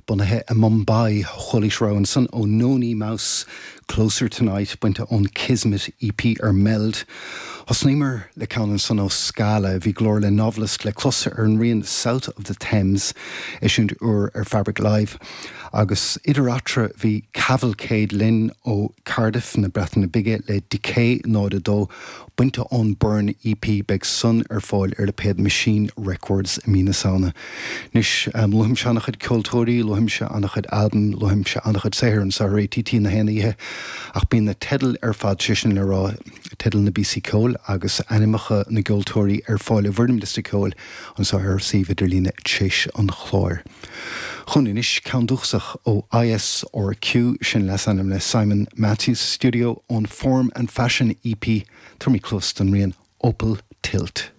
bunaithe i Mumbai. Chualaís rogha ansan ó Noni Mouse, Closer Tonight, bainte ón Kismet EP ar Meld. Thosnaíomar le ceann ansan ó Scala, bhí glór le Novelist le clos ar an rian South of the Thames, eisiúint úr ar Fabric Live. Agus idir eatarthu bhí Cavalcade linn ó Cardiff na Breataine Bige le Decay 0 2, Bainte ón Burn EP, beidh san ar fáil ar lipéad Machine Records i mí na Samhna. Anois, luaimse an-chuid ceoltóirí, luaimse an-chuid albam, luaimse an-chuid saothair anseo ar ATT na haon oíche, ach bíonn na teidil ar fad, sé sin le rá, teidil na bpíosaí ceoil agus ainmneacha na gceoltóirí ar fáil i bhfoirm liosta ceoil anseo ar suíomh idirlíne tréis an chláir. Chugainn anois, ceann dúchasach ó ISRQ, sin leasainm le Simon Matthews Studio, ón Form and Fashion EP, tabharfaimid cluas don rian Opal Tilt.